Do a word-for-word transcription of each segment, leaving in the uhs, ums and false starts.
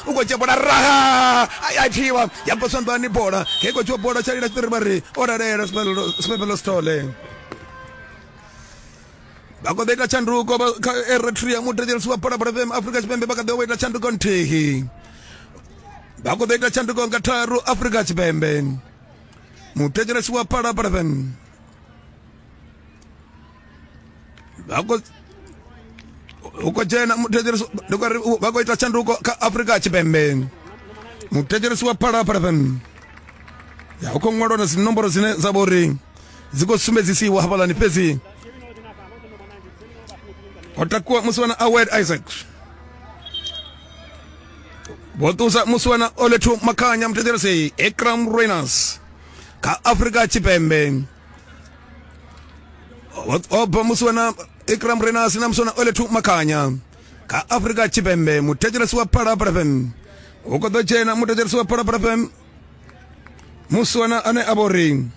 U khou dzhia bola raha a thiwa ya bva zwanḓani bola he khou dzhiwa bola tsha lila tshiṱiri vha ri o lalela Sibebelo Sithole. Vha khou ḓo ita tshanduko kha Eritrea muthetshelesi wa Phalaphala F M Afrika Tshipembe vha kha ḓo ita tshanduko nthihi. Vha khou ḓo ita tshanduko nga tharu Afrika Tshipembe. Muthetshelesi wa Phalaphala F M vha khou u khou dzhena muthetshelesi ndi khou ri vha khou ita tshanduko kha Afrika Tshipembe. Muthetshelesi wa Phalaphala F M ya hu khou ṅwalwa na dzinomboro dzine dza vha uri dzi khou sumbedzisiwa hafhaḽani fhedzi ho takuwa musiwana Awed Isaac vho ṱusa musiwana Olethu Makhanya muthetshelesi Ikram Reyners kha Afrika Tshipembe. O bva musiwana Ikram Reyners na musiwana Olethu Makhanya kha Afrika Tshipembe. Muthetshelesi wa Phalaphala F M hu khou ḓo dzhena muthetshelesi wa Phalaphala F M musiwana ane a vha uri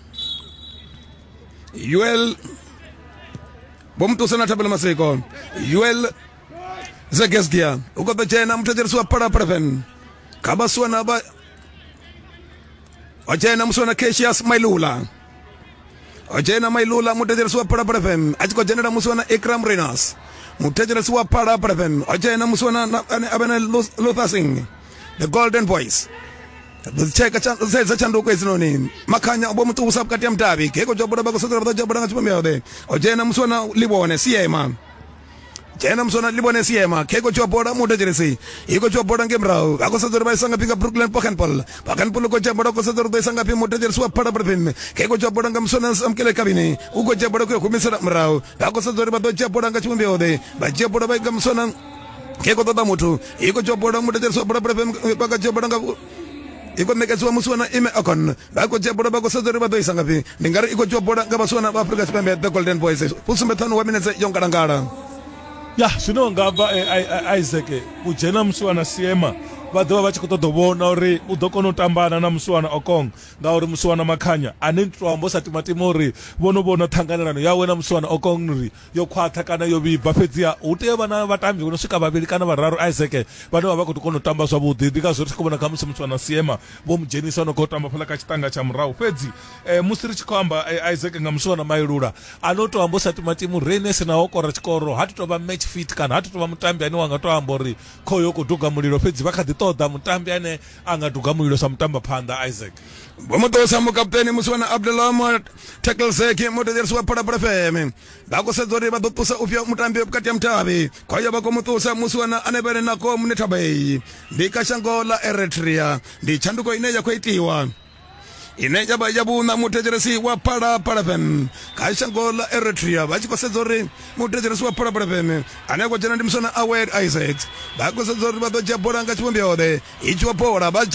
Yuel vho muṱusa na Thabelo Masiko Yuel Zegesdia u khou ḓo dzhena muthetshelesi wa Phalaphala F M kha vhasiwana vha o dzhena musiwana Cassius Mailula o dzhena Mailula muthetshelesi wa Phalaphala F M a tshi khou dzhenela musiwana Ikram Reyners muthetshelesi wa Phalaphala F M o dzhena musiwana ane a vha na Luther Singh the Golden Voice. Tsheka sedza tshanduko hedzinoni Makhanya vho muṱusa vhukati ha mudavhi geko dzhia bola vha khou sedzela vha ḓo dzhia bola nga tshivhumbeo o dzhena musiwana Livhone Siema dzhena musiwana Livhone Siema kheko dzhia bola muthetshelesi i khou dzhia bola nge murahu vha khou sedza uri vha isa ngafhi nga Brooklyn Pochenpol Pochenpol u khou dzhia bola khou sedza uri ḓo isa ngafhi muthetshelesi wa Phalaphala F M kheko dzhia bola nga musiwana Samkele Kabini u khou dzhia bola khou humisela murahu vha khou sedza uri vha ḓo dzhia bola nga tshivhumbeo vha dzhia bola vha inga musiwana kheko ṱoḓa muthu i khou dzhia bola muthetshelesi wa Phalaphala F M vha khou dzhia bola nga i khou ṋekedziwa musiwana Ime Okon vha khou dzhia bola vha khou sedza uri vha ḓo isa ngafhi ndi nga ri i khou dzhia bola nga vhasiwana vha Afrika Tshipembe the Golden Boys fusumbe ṱhanu wa minetse yo ngalangala. Ya zwino nga bva Isaac u dzhena musiwana Siema vha ḓovha vha tshi khou ṱoḓa u vhona uri u ḓo kona u tambana na musiwana Okong ngauri musiwana Makhanya ane to amba sa timatima uri vhono vhona ṱhanganelano yawe na musiwana Okong uri yo khwaṱha kana yo vhibva fhedziha hu tea vha na vhatambi vho no swika vhavhili kana vhararu Isaac vhane vha vha khou kona u tamba zwavhuḓi. Ndi ngazwo ri tshi khou vhona khamusi musiwana Siema vho mu dzhenisa no khou tamba fhaḽa kha tshiṱanga tsha murahu. Fhedzi eh, musi ri tshi khou amba eh, Isaac nga musiwana Mailula ano to amba sa timatima Reyners naho kora tshikoro ha tou vha match fit kana ha tou vha mutambi ane wa nga to amba uri khoyo khou duga mulilo fhedzi vha kha ḓi ṱoḓa mutambi ane a nga duga mulilo sa mutamba phanḓa Isaac. Vho muṱusa mukaputeni musiwana Abdullah Taklzeki muthetshelesi wa Phalaphala F M vha khou sedza uri vha ḓo ṱusa ufhio mutambi vhukati ha mutavhi khoyo vha khou muṱusa musiwana ane vha nako Munethabei ndi kha shango ḽa Eritrea ndi tshanduko ine ya khou itiwa ine ya vha ya vhuṋa muthetshelesi wa Phalaphala F M kha shango ḽa Eritrea vha tshi khou sedza uri muthetshelesi wa Phalaphala F M ane a khou dzhena ndi musiwana Awed Isaacs vha khou sedza uri vha ḓo dzhia bola nga tshivhumbeo i dzhiwa bola vha dzhia